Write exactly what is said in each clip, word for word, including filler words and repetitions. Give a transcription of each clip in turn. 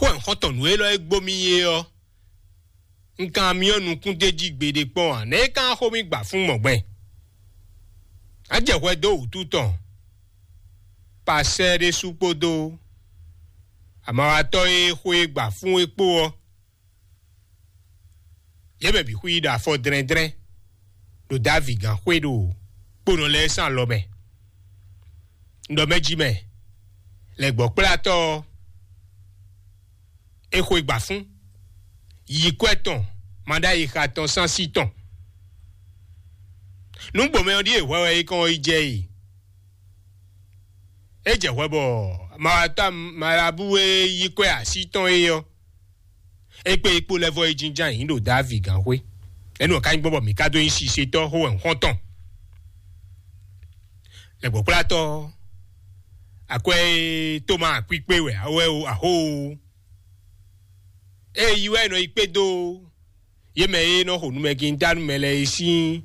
Xó e un xɔ́ntɔn nǔ élɔ́ e gbó mì é ɔ́, un ka myɔ nukún d'é jí gbeɖé kpɔ́n ǎ. Nɛ̌ é ka xo mì gba fún mɔ̌gbɛn? Á jɛ hwɛ dó wǔtu tɔn, pasɛ́ ɖésú kpódó amawatɔ́ e xo e gba fún é kpó ɔ́, yě mɛ bǐ xwí ɖo afɔ dlɛ́ndlɛ́n ɖo Davi gǎn xwé ɖo kponɔ lɛ́ɛ sín alɔ mɛ. Un ɖɔ mɛ jí mɛ, lɛ̌gbɔ́kplátɔ́ ɔ́, é xwe gba fún, yi kwɛ́ tɔn, maɖáyixa tɔn, sánsí tɔn. Nǔgbomɛ ɔ́ ɖíe hwɛ wɛ é kɔn yi jɛ e. É jɛ hwɛ bɔ mawatɔ́ malabu e yí kwɛ́ así tɔn é ɔ́, é kpé yi kpó lɛ́ vɔ yi jínjɔ́n ayǐ ɖo Davi gǎnxwé. Énɛ́ ɔ́ ka nyí gbɔn bɔ mǐ ka dó nyí sisetɔ́ xó wɛ xɔ́ntɔn. Lɛ̌gbɔ́kplátɔ́, akwɛ́ e Toma kpíkpé wɛ awɛ o, axó o. Ée yi wɛ è nɔ yi kpé dó yě mɛ e nɔ xo numɛgin dá nú mɛ lɛ́ɛ é sín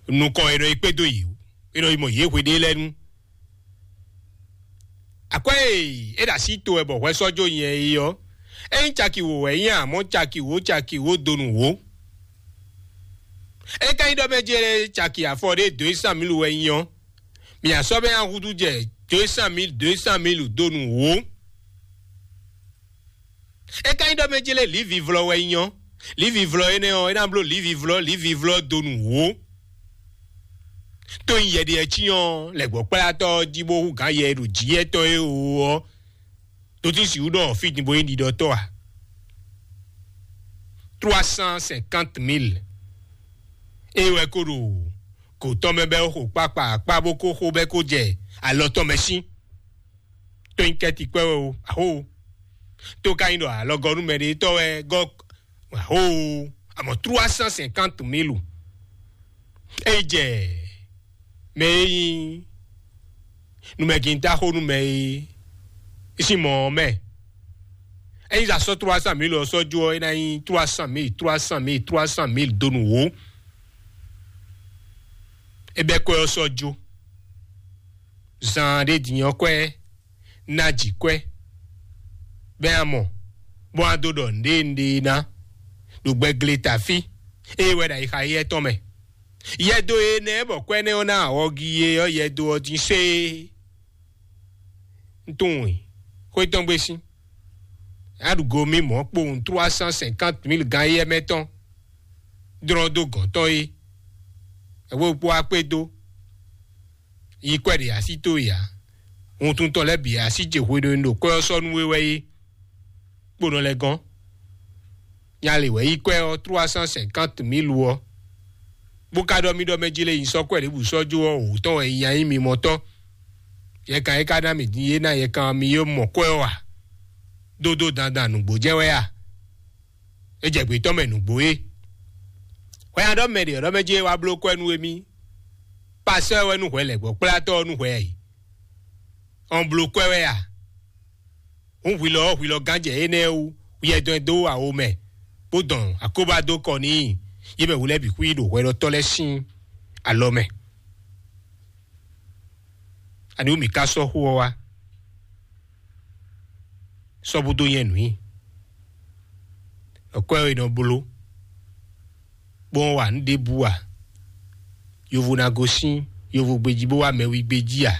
nukɔn, è nɔ yi kpé dó yě o. È nɔ yi mɔ yě hweɖé lɛ́ɛ nu. Akwɛ́ e é ɖo así to wɛ bɔ hwɛ sɔ́ jó nyɛ é ɔ́, é nyí caki wǒ wɛ é nyí, amɔ̌ caki wǒ, caki wǒ donu wǒ. É ka nyí ɖɔ mɛ jɛ caki afɔ ɖé deux cent mille wɛ nyí ɔ́, mǐ a sɔ́ bɛ́ nyi húzú jɛ deux cent mille, deux cent mille donu wǒ. É ka nyí ɖɔ mɛ jɛ lé lǐvivlɔ wɛ nyí ɔ́, lǐvivlɔ énɛ́ ɔ́, é ná bló lǐvivlɔ, lǐvivlɔ donu wǒ. Tó nyí yɛɖiɛ cyɔ́n lɛ̌gbɔ́kplátɔ́ ɔ́ jí bó hú gǎn yɛ e ɖo jǐyɛ́tɔ́ é wú ɔ́, ɖó tí sixú ɖɔ fí din bó nyí ɖiɖɔtɔ́ ǎ. Trois cent cinquante mille. É wɛ ko ɖo gǒ tɔn mɛ bɛ́ xo kpákpá akpá bó ko xo bɛ́ ko jɛ alɔ tɔn mɛ sín. Tó nyí kɛ́ti kpɛ́ wɛ o, axó o. Tó ka nyí ɖɔ alɔgɔ́númɛɖetɔ́ wɛ gɔ́, axó o. Amɔ̌ trois cent cinquante mille. É yi jɛ mɛ e nyí numɛgíntáxónú mɛ e sín mɔ ɔ́ mɛ. Ényí zǎn sɔ́ trois cent mille ɔ́ sɔ́ jó ɔ́, é ná nyí trois cent mille, trois cent mille, trois cent mille donu wǒ. É bɛ́ kwɛ́ ɔ́ sɔ́ jó. Zan ɖé din ɔ́ kwɛ́ ná jǐ kwɛ́, bɛ́ a mɔ, bó a dó ɖɔ nǔɖé nǔɖé ná ɖo gbɛgle tafí, ée wɛ ɖo ayixa éyɛ́ tɔn mɛ. Yɛdo énɛ́ bɔ kwɛ́ nɛ́ ɔ́ ná awɔgi é ɔ́, yɛdo ɔ́ dín séé. Un tunwun i xwé tɔn gbé sín. Aɖugo mi mɔ̌ kpowun trois cent cinquante mille gan éyɛ́ mɛ tɔn dlɔ́n dó gɔ̌n tɔn é. Ɛwé kpó akpé dó. Yi kwɛ́ ɖě así towe ǎ. Wuntun tɔn lɛ́ɛ bǐ así ce hweɖónú ɖo kwɛ́ ɔ́ sɔ́ nú we wɛ é. Kponɔ lɛ́ɛ gɔ́n. Nya lě wɛ yí kwɛ́ ɔ́ trois cent cinquante mille ɔ́, bó ka ɖɔ mì ɖɔ mɛ jí lé nyi sɔ́ kwɛ́ ɖěbǔ sɔ́ jó ɔ́, wǒ tɔn wɛ nyi anyí mi mɔtɔ́. Yɛkan e ka ná mì din é ná yɛkan mi yó mɔ kwɛ́ ɔ́ a? Dódó dandan nǔgbó jɛ́n wɛ a? É jɛ gbětɔ́ mɛ nǔgbó é. Hwɛ nya ɖɔ mɛ ɖě ɔ́ ɖɔ mɛ jí é wá bló kwɛ́ nú émí. Pasɛ́ wɛ nú hwɛ lɛ̌gbɔ́kplátɔ́ ɔ́ nú hwɛ ɛ yi. Ɔn bló kwɛ́ wɛ a? Hǔn hwilɔ ɔ́ hwilɔ gán jɛ énɛ́ wú, yɛ dɔn ɛ dó awo mɛ, bó dɔn akóbá dó kɔ n'i, yě mɛ wú lɛ́ɛ bǐ xwí ɖo hwɛɖɔtɔ́ lɛ́ɛ sín alɔ mɛ. Ani wú mǐ ka sɔ́ xó ɔ́ wá? Sɔ́ bó dó nyɛ nǔ i. Ɖɔ kwɛ́ ɔ́ è nɔ bló, bó nɔ́ wa nǔ ɖěbǔ ǎ. Yovo ná gosín yovogbe jí bó wá mɛwígbe jí ǎ.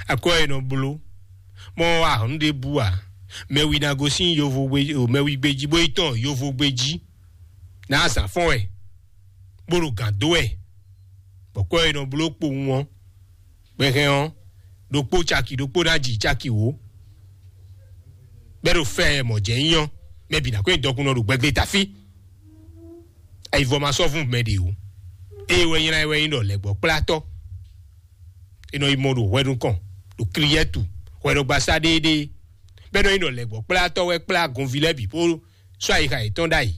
Akwɛ́ ɔ́ è nɔ bló, bó nɔ́ wa nǔ ɖěbǔ ǎ. Mɛwi ná gosín yovogbe, mɛwígbe jí bó yi tɔn yovogbe jí. Ná azǎn fɔ́n wɛ, bó ɖo gǎn dó wɛ, bɔ kwɛ́ ɔ́ è nɔ bló kpowun ɔ́, gbɛhɛn ɔ́, ɖokpó caki ɖokpó ná ji caki wǒ. Bɛ́ ɖo fɛ mɔ̌ jɛ nyí ɔ́, mɛ bǐ ná kó nyi dɔkunnɔ ɖo gbɛgbléta fí. Ayivɔ ma sɔ́ vún mɛ ɖě o. Ée wɛ nylá ɛ wɛ nyí ɖɔ lɛ̌gbɔ́kplátɔ́. É nɔ yi mɔ ɖo hwɛ nukɔn, ɖo kliyɛ́tu, hwɛɖɔgbasá ɖéeɖée. Bɛ́ nɔ nyí ɖɔ lɛ̌gbɔ́kplátɔ́ wɛ kplá gɔnví lɛ́ɛ bǐ bó sɔ́ ayixa yětɔn ɖ'ayǐ.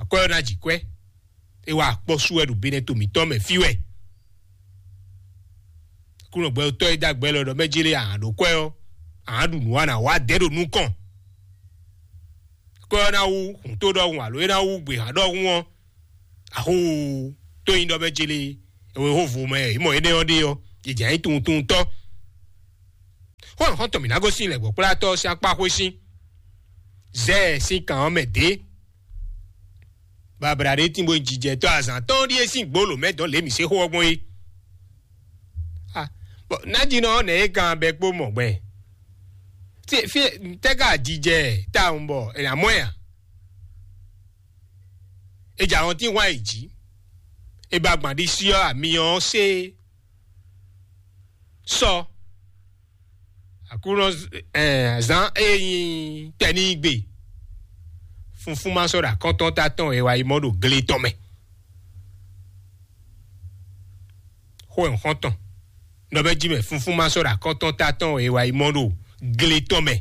Akwɛ́ ɔ́ ná ji kwɛ́. É wá akpɔ́ sú wɛ ɖo Benɛto mǐtɔn mɛ fí wɛ. Aklúnɔ gbɛtɔ́ e dó agbɛ́ lɔ ɖɔ mɛ jélé ahan ɖo kwɛ́ ɔ́, ahan ɖu nǔ wa nǎ wá dɛ̌ ɖo nukɔn. Kwɛ́ ɔ́ ná wú hǔn tó ɖɔhun alo é ná wú gběhan ɖɔhun ɔ́, axóo tó nyí ɖɔ mɛ jélé, è wě xó vo mɛ, è mɔ énɛ́ ɔ́ ɖe ɔ́, è jǎ nyí tunwun tunwun tɔ́. Xɔ́ntɔn mǐ ná gosín lɛ̌gbɔ́kplátɔ́ sín akpá xwé sín. Zɛ́ɛ sín kan ɔ́ mɛ dě. Babla ɖé tín bó nyí jijɛtɔ́ azǎn tɔn ɖíe sín gbolo mɛ dɔn lě mǐ se xó ɔ́ gbɔn é. Ah, bɔn nájínɔ ɔ́ nɛ̌ é kan bɛ kpó mɔ gbɛn? Fí fí tɛ́ ka jijɛ tawun bɔ è nǎ mɔ ɛ a? È jɛ ahɔntín hwan yi jǐ. È ba gbǎn ɖisí ɔ́ ami ɔ́ sé sɔ. Aklúnɔ zán e nyí tɛnígbe funfún ma sɔ́ ɖo akɔ́ntɔ́ ta tɔn e wá yi mɔ ɖo gle tɔn mɛ. Xó e xɔ́ntɔn nɔ bɛ jí mɛ funfún ma sɔ́ ɖo akɔ́ntɔ́ ta tɔn e wá yi mɔ ɖo gle tɔn mɛ.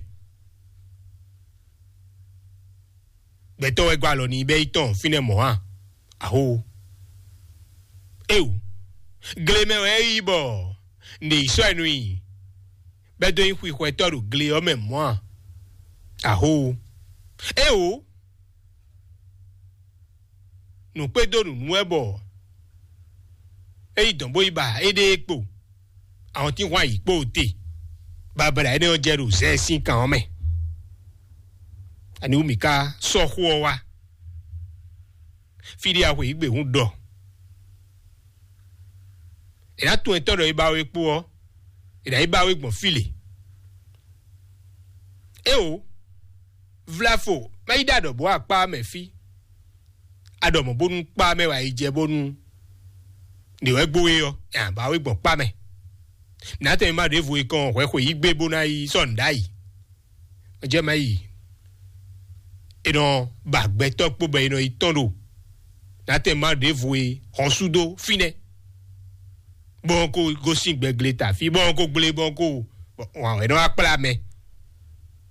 Gbɛtɔ́ wɛ gɔ́ alɔ n'i bɛ́ yi tɔn fínɛ́ mɔ̌ a? Aho. Éeǒ, gle mɛ wɛ é yí bɔ nɖe yi sɔ́ ɛ nú i, bɛ́ dó nyí xwixwɛtɔ́ ɖo gle ɔ́ mɛ mɔ̌ a? Aho. Éeǒ, nǔkpédó nǔnú wɛ bɔ é yi dɔn bó yi ba éɖée kpo, ahɔntínhwan yi kpo te. Babla énɛ́ ɔ́ jɛ ɖo zɛ sín kan ɔ́ mɛ. Ani wú mǐ ka sɔ́ xó ɔ́ wá? Fí ɖé axwe yǐ gbe hún ɖɔ è nǎ tunwun etɔ́ ɖɔ é ba we kpó ɔ́, è nǎ yi ba we gbɔn fí lě. Éeǒ, vlafo má yi ɖo aɖɔ̌ bó akpá mɛ fí. Aɖɔ̌ mɔ̌ bónú kpá mɛ wá yi jɛ bónú ɖě wɛ gbo é ɔ́, è nǎ ba we gbɔn kpá mɛ. Nǎtɛn ma ɖěvo e kɔn hwɛ xwe yí gbé bó ná yi sɔ́ nǔ ɖ'ayǐ. Jɛ ma yi è nɔ ba gbɛtɔ́ kpó bɔ è nɔ yi tɔ́n ɖo nǎtɛn ma ɖěvo e hɔn sú dó fínɛ́. Bɔn ko gosín gbɛgle ta fí bɔn ko gblé bɔn ko wǎn wɛ nɔ wá kplá mɛ.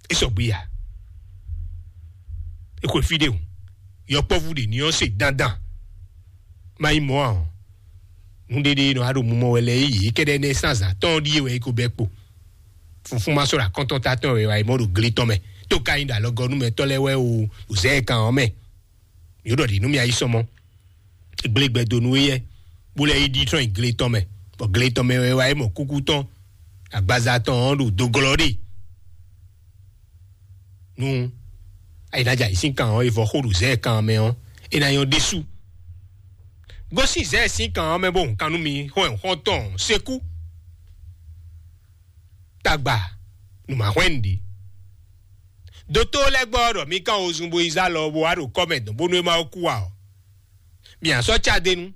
É sɔgbe ya. É xwe fí ɖé o. Yɔkpɔ́vú ɖě ní ɔ́ se dandan. Má nyí mɔ̌ ǎ ɔ́, nǔɖéɖé nɔ wá ɖo mumɔ wɛ lɛ́ɛ yě kɛ́ɖɛ́ nɛ́ sín azǎn tɔn ɖíe wɛ é ko bɛ́ kpo. Funfún ma sɔ́ ɖo akɔ́ntɔ́ ta tɔn wɛ wá yi mɔ ɖo gle tɔn mɛ. Tó ka nyí ɖo alɔgɔnúmɛtɔ́ lɛ́ɛ wɛ o, ɖo zɛ̌ kan ɔ́ mɛ. Yǒ ɖɔ ɖě nú mì ayí sɔmɔ. Gblé gbɛ dó nú éyɛ́, bó lɛ́ yi ɖi trɔ́n yi gle tɔn mɛ, bɔ gle tɔn mɛ wɛ wá yi mɔ kúkú tɔn, agbaza tɔn ɔ́ ɖo doglɔ́ ɖe. Nú ayǐnájà yě sín kan ɔ́, è vɔ xó ɖo zɛ̌ kan ɔ́ mɛ ɔ́, é ná nyɔ́ ɖésú. Gosín zɛ̌ sín kan ɔ́ mɛ bó hun kan nú mi xɔ́n xɔ́ntɔn sekú. Tagba nǔ ma hwɛ́n nǔɖé. Dotó lɛ́ɛ gbɔ ɖɔ mi kán wozun bo yi zá lɔ bó wá ɖo kɔ́ mɛ dɔn bónú é má kú ǎ ɔ́, mi ǎ sɔ́ cá d'é nu,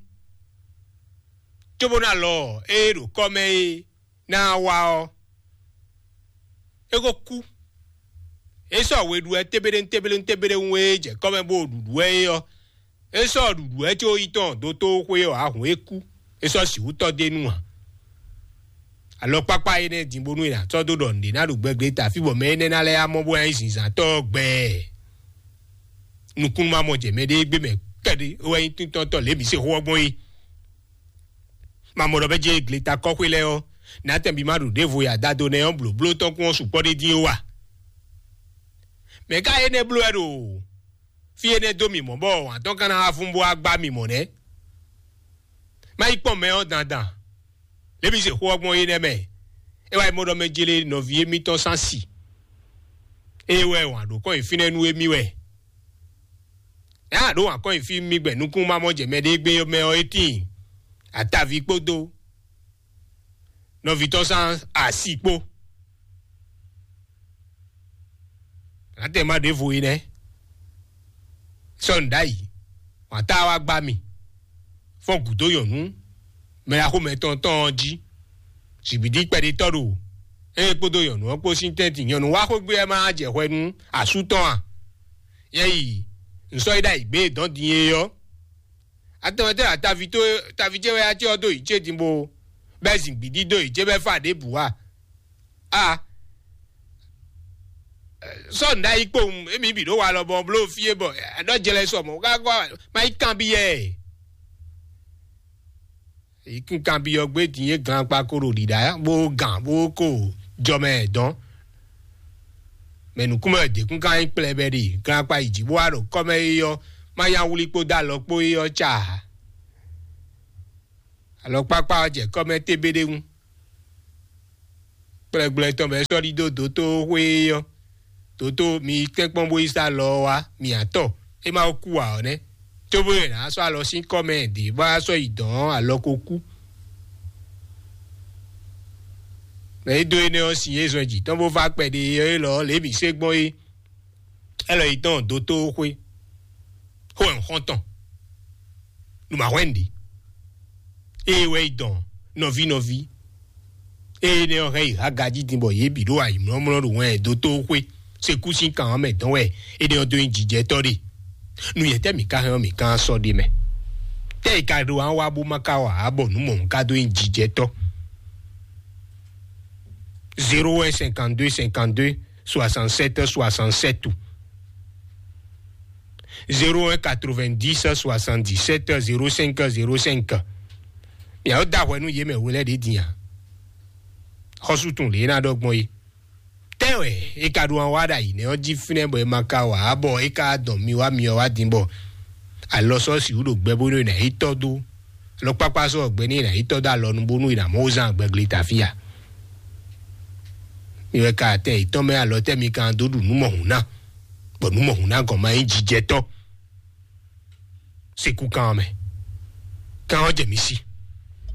cóbónú alɔ e ɖo kɔ́ mɛ é ná wá ɔ́, é ko kú. É sɔ́ we ɖu wɛ tébéɖéŋ tébéɖéŋ tébéɖéŋ e jɛ kɔ́ mɛ bó ɖuɖu wɛ é ɔ́, é sɔ́ ɖuɖu wɛ có yi tɔn dotó xwé ɔ́ ahun é kú. É sɔ́ sixú tɔ́ d'é nu ǎ. Alɔkpákpá énɛ́ din bónú è nǎ sɔ́ dó ɖɔ nǔɖé ná ɖo gbɛgbɛ ta fí bɔ mɛ énɛ́ ná lɛ́ amɔ bó ná nyí zǐnzǎntɔ́ gbɛɛ. Nukúnnú ma mɔ jɛ mɛɖé gbé mɛ kɛɖé wɛ nyí tíntɔ́ntɔ́ lě mǐ se xó ɔ́ gbɔn é. Ma mɔ ɖɔ bɛ́ jɛ gleta kɔ́xwé lɛ́ɛ ɔ́, nǎtɛn bí má ɖo ɖěvo ya dado nɛ́ ɔ́ blǒbló tɔn kún ɔ́ sukpɔ́ ɖé dín ó wa? Mɛ̌ ka énɛ́ bló wɛ ɖo fí énɛ́ dó mì mɔ̌ bɔ wǎn tɔn ka ná wá fún bó wá gbá mì mɔ̌ nɛ́? Má yi kpɔ́n mɛ ɔ́ dandan. Lě mǐ se xó ɔ́ gbɔn é nɛ́ mɛ. É wá yi mɔ ɖɔ mɛ jele nɔví émítɔn sín asi. Ée wɛ wǎn ɖó kɔn nyi fínɛ́ nú émí wɛ. Nya ɖó wǎn kɔn nyi fí mì gbɛ nukún ma mɔ jɛ mɛ ɖé gbé mɛ ɔ́ é tíin. Ataví kpódó nɔví tɔn sín asi kpó. Nǎtɛn ma ɖěvo é nɛ́. Sɔ́ nǔ ɖ'ayǐ, wǎn tá wá gbá mì. Fɔ́n gǔdo nyɔ̌nu mɛ axomɛ tɔn tɔn ɔ́ jí. Zǐgbídí kpɛɖitɔ́ ɖo ée kpódó nyɔ̌nu ɔ́ kpó sín tɛ́ntin. Nyɔ̌nu wá xwé gbé wɛ má jɛ hwɛ nú asú tɔn a? Yɛ yi, un sɔ́ yi ɖ'ayǐ gbé e dɔ̌n din é ɔ́. Atɔmɛtɔ́ ya taví tó taví ce wɛ ya ce ɔ́ dó yǐ ce din bó bɛ́ zǐngbídí dó yǐ ce bɛ́ fá ɖěbǔ a? A sɔ́ nǔ ɖ'ayǐ kpowun émi bǐ ɖó walɔ bɔ bló fí é bɔ ɖɔ jlɛ sɔ mɔ̌ ká kɔ má yi kanbyɔ́ ɛ. Yi kún kanbyɔ́ gbé din é gan kpa ko ɖo ɖiɖa bó gǎn bó ko jɔ mɛ dɔn. Mɛ nǔkún mɛ wɛ dě kún ka nyí kplɛbɛ ɖe gan kpa yi jǐ bó wá ɖo kɔ́ mɛ é ɔ́, má yá wlí kpó dó alɔ kpó é ɔ́ ca. Alɔkpákpá ɔ́ jɛ kɔ́ mɛ tégbéɖéwún. Kplɛgblɛ tɔn bɛ sɔ́ ɖidó dótóxwé ɔ́, dótó mi tɛ́nkpɔ́n bó yi sá lɔ ɔ́ wá, mi atɔ é má kú ǎ ɔ́ nɛ́. Cóbó yɛ nǎ sɔ́ alɔ sín kɔ́ mɛ ɖě bá sɔ́ yi dɔ̌n alɔ ko kú. Mɛ é dó énɛ́ ɔ́ sin é zɔn jǐ tɔn bó vá kpɛɖé ɔ́ élɔ́ lě mǐ sé gbɔn é. Ɛlɔ yi tɔn dótóxwé xó ɛ xɔ́ntɔn nǔmahwɛ́nɖi. Ée wɛ yi dɔn nɔví nɔví. Ée nɛ ɔ́ hɛn yi há gají din bɔ yě bǐ ɖo ayǐmlɔ́mlɔ́ ɖo wɛn dótóxwé sekú sín kan ɔ́ mɛ dɔn wɛ. Énɛ́ ɔ́ dó nyí jijɛtɔ́ ɖe. Nu yɛtɛ́ mǐ ka hɛn ɔ́, mǐ ka sɔ́ ɖe mɛ. Tɛ́ yi ka ɖo wá wá bó má ka wa ǎ bɔ nǔ mɔ̌hun ka dó nyí jijɛtɔ́? Zéro un cinquante-deux cinquante-deux soixante-sept soixante-sept ou zéro un quatre-vingt-dix soixante-dix-sept zéro cinq zéro cinq. Miawo da hwɛ nú yě mɛ we lɛ́ ɖě din a? Xɔ́sú tun lě ná ɖɔ gbɔn é. Tɛ́ wɛ é ka ɖó wá ɖo ayǐ nɛ́ ɔ́ jí fínɛ́ bɔ é ma ka wǎ bɔ é ka dɔn mi wá mi ɔ́ wá din bɔ alɔ sɔ́ sixú ɖo gbɛ bónú è nǎ yi tɔ́ dó. Alɔkpákpá sɔ́ gbɛ ní è nǎ yi tɔ́ dó alɔnu bónú è nǎ mɔ wó zán gbɛglé ta fí a? Mi wɛ ka atɛ yětɔn mɛ alɔ tɛ́ mi kan dó ɖu nǔ mɔhun ná, bɔ nǔ mɔhun ná gɔn ma nyí jijɛtɔ́. Sekú kan ɔ́ mɛ, kan ɔ́ jɛ mi sí.